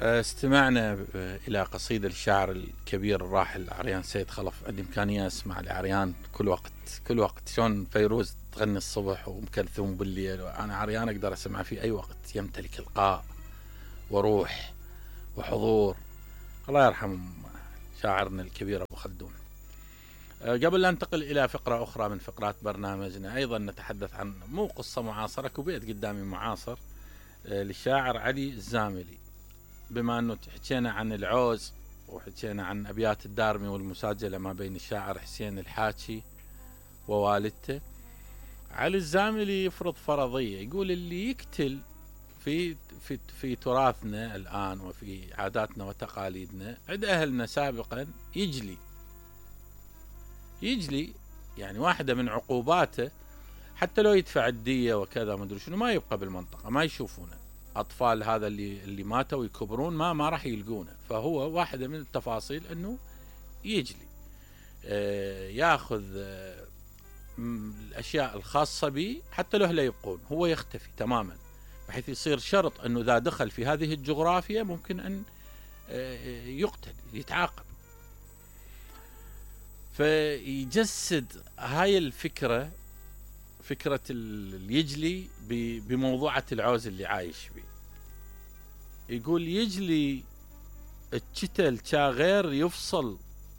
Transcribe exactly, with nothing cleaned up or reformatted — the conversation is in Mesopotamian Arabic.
استمعنا إلى قصيدة الشاعر الكبير الراحل عريان سيد خلف. عندي إمكانية أسمع لعريان كل وقت كل وقت، شلون فيروز تغني الصبح وأم كلثوم بالليل، أنا عريان أقدر أسمع في أي وقت. يمتلك إلقاء وروح وحضور. الله يرحم شاعرنا الكبير أبو خلدون. قبل لا ننتقل إلى فقرة أخرى من فقرات برنامجنا، أيضا نتحدث عن مو قصة معاصرة، كوبيت قدامي معاصر للشاعر علي الزاملي. بما أنه حكينا عن العوز وحكينا عن أبيات الدارمي والمساجلة ما بين الشاعر حسين الحاكي ووالدته، علي الزاملي يفرض فرضية، يقول اللي يقتل في في في تراثنا الآن وفي عاداتنا وتقاليدنا عند أهلنا سابقا يجلي يجلي يعني واحدة من عقوباته حتى لو يدفع الدية وكذا ما أدري شنو، ما يبقى بالمنطقة، ما يشوفونه. أطفال هذا اللي اللي ماتوا يكبرون ما ما راح يلقونه. فهو واحدة من التفاصيل أنه يجلي، آه ياخذ آه الأشياء الخاصة به حتى لو لا يبقون، هو يختفي تماما، بحيث يصير شرط أنه إذا دخل في هذه الجغرافيا ممكن أن آه يقتل يتعاقب. فيجسد هاي الفكرة، فكرة اليجلي بموضوعة العوز اللي عايش به. يقول يجلي الشتل كا غير يفصل